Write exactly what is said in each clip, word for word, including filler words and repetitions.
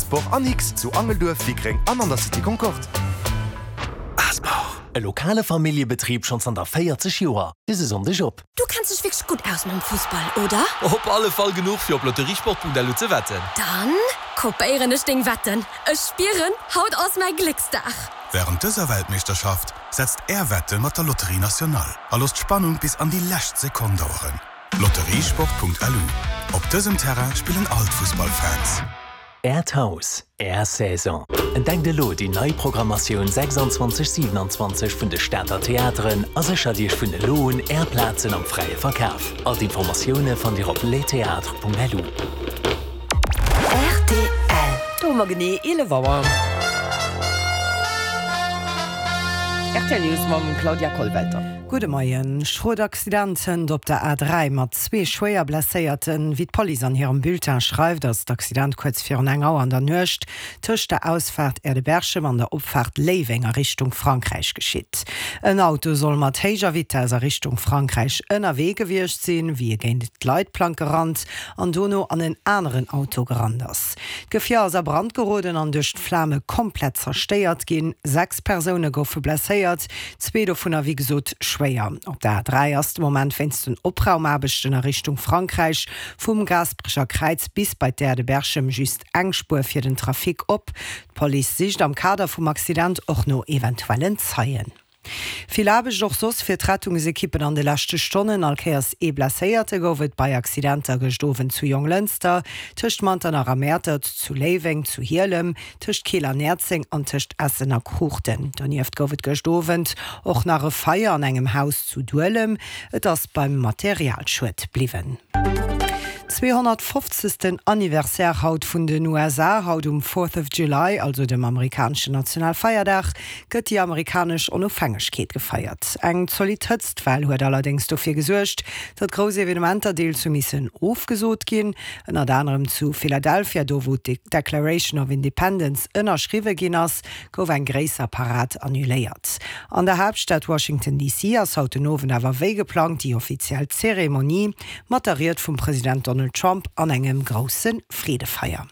Asport an X zu Angelduerf, Wickreng an an der Cité Concorde. Asport, e lokale Familljebetrib schonn zanter véierzeg Joer. Dëse Sonndeg op. Du kenns dech wierklech gutt aus mam Fussball, oder? Op alle Fall genuch fir op lotteriesport Punkt L U ze wetten. Dann kopéieren ech deng Wetten. Ech spieren, haut ass mäi Glécksdag. Wärend dëser Weltmeeschterschaft setzt Är Wette mat der Loterie Nationale a loosst d'Spannung bis an déi lescht Sekonn daueren. Lotteriesport Punkt L U, Op dësem Terrain spillen all d'Fussballfans. Äert Haus, Är Saison. Entdeckt elo déi nei Programmatioun sechsundzwanzeg siewenundzwanzeg vun de Stater Theateren a séchert Iech vun elo un Är Plazen am fräie Verkaf. All d'Informatioune fannt Dir op lestheatres Punkt L U. R T L. Do hu mer genee eelef Auer. R T L News mam Claudia Kollwelter. Gudde Moien. Schrot Accident hënt op der A dräi mat zwee schwéier Blesséierten. Wéi d'Police an hirem Bulletin schreift, ass d'Accident kuerz virun eng Auer an der Nuecht tëscht der Ausfaart Aire de Berchem an der Opfaart Léiweng a Richtung Frankräich geschitt. En Auto soll mat héijer Vitess a Richtung Frankräich ënnerwee gewiescht sinn, wéi e géint d'Leitplank gerannt an dono an en aneren Auto gerannt ass. D'Gefier ass a Brand geroden an duerch d'Flame komplett zerstéiert ginn. Sechs Persoune goufe blesséiert, zwee dovunner wéi gesot schwéier. Op der A dräi ass de Moment wéinst den Opraumaarbechten a Richtung Frankräich vum Gaasperecher Kräiz bis bei d'Aire de Berchem just eng Spuer fir den Trafic op. D'Police sicht am Kader vum Accident och no eventuellen Zeien. Vill Aarbecht och soss fir d'Rettungsekippen an de leschte Stonnen. All Kéiers ee Blesséierte gouf et bei Accidenter gëscht Owend zu Jonglënster, tëscht Manternach a Mäertert, zu Léiweng, zu Hielem, tëscht Keel an Näerzeng an tëscht Essen a Kruuchten. Donieft gouf et gëscht Owend och nach e Feier an engem Haus zu Duelem. Et ass beim Materialschued bliwwen. Zweehonnertfofzegsten Anniversaire haut vun den U S A. Haut um Fourth of July, also dem amerikaneschen Nationalfeierdag, gëtt déi amerikanesch Onofhängegkeet gefeiert. Eng zolidd Hëtztwell huet allerdéngs dofir gesuergt, datt grouss Evenementer deels hu missen ofgesot ginn. Ënnert anerem zu Philadelphia, do wou d'Declaration of Independence ënnerschriwwe ginn ass, gouf eng gréisser Parad annuléiert. An der Haaptstad Washington D C ass haut den Owend awer wéi geplangt déi offiziell Zeremonie mat der Ried vum President Donald Trump an engem grousse Freedefeier.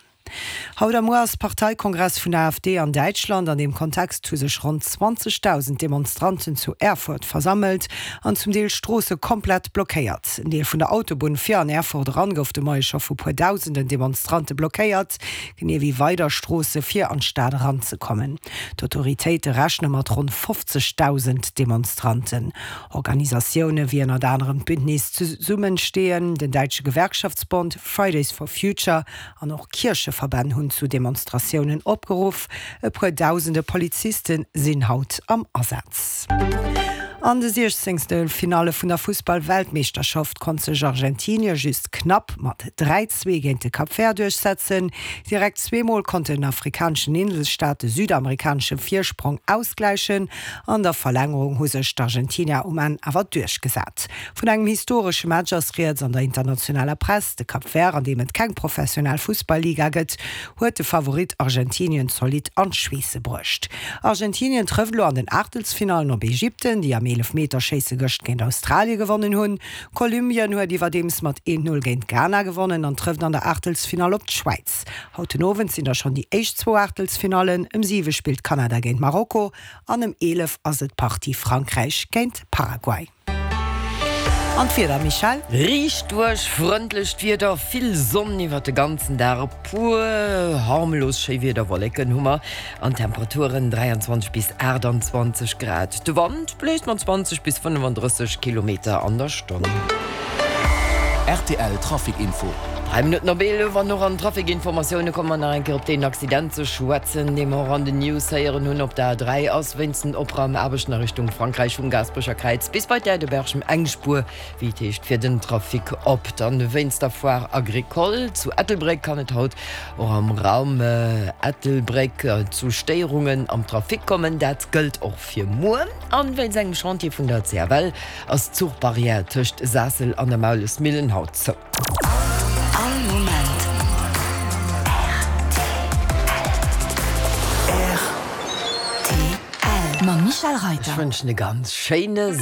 Haut a muer ass Parteikongress vun der A F D an Däitschland. An deem Kontext hu sech ronn zwanzegdausend Demonstranten zu Erfurt versammelt an zum Deel Stroosse komplett blockéiert. En Deel vun der Autobunn fir an Erfurt eran gouf de Moie scho vu puer dausenden Demonstrante blockéiert, genee wéi weider Stroosse fir an d'Stad eranzekommen. D'Autoritéite rechne mat ronn fofzegdausend Demonstranten. Organisatioune wéi ënnert anerem d'Bündnis Zesummenstehen, den däitsche Gewerkschaftsbond, Fridays for Future an och Kiercheverbänn hunn zu Demonstratiounen opgeruff. E puer dausende Poliziste sinn haut am Asaz. An de Siechzengstelfinalle vun der Fussball-Weltmeeschterschaft konnt sech Argentinie just knapp mat dräi zwee géint de Cap Vert duerchsetzen. Direkt zweemol konnt den afrikaneschen Inselstaat de südamerikanesche Virsprong ausgläichen. An der Verlängerung hu sech d'Argentinier um Enn awer duerchgesat. Vun engem historesche Match ass rieds an der internationaler Press. De Cap Vert, an deem et keng professionell Fussball-Liga gëtt, huet de Favorit Argentinien zolidd an d'Schweesse bruecht. Argentinien trëfft elo an den Aachtelsfinallen op Ägypten, déi am Eelefmeterschéisse gëscht géint Australie gewonnen hunn. Kolumbien huet iwwerdeems mat eent Null géint Ghana gewonnen an trëfft an der Aachtelsfinall op d'Schwäiz. Haut den Owend sinn da schonn déi éischt zwou Aachtelsfinallen. Ëm siwe spillt Kanada géint Marokko an ëm eelef ass et d'Partie Frankräich géint Paraguay. An d'Wieder, Michèle? Riicht duerch frëndlecht Wieder, vill Sonn iwwert de ganzen Dag, e puer harmlos Schéiwiederwolleken hu mer an Temperaturen dräianzwanzeg bis aachtanzwanzeg Grad. De Wand bléist mat zwanzeg bis fënnefandrësseg Kilometer an der Stonn. R T L Trafic Info. Dräi Minutten op eelef an och an Trafic-Informatioune komme mer nach eng Kéier op deen Accident ze schwätzen, dee mer och an den News héieren hunn. Op der A dräi ass wéinst den Opraumaarbechten a Richtung Frankräich vum Gaasperecher Kräiz bis bei d'Aire de Berchem eng Spuer, wéi et heescht, fir den Trafic op. Dann wéinst der Foire Agricole zu Ettelbréck kann et haut och am Raum Ettelbréck zu Stéierungen am Trafic kommen. Dat gëllt och fir muer. An wéinst engem Chantier vun der C F L ass d'Zuchbarrière tëscht Saassel an der Maulesmillen haut zou. All Moment R T L mam Michèle Ech Reiter. wënschen e ganz schéine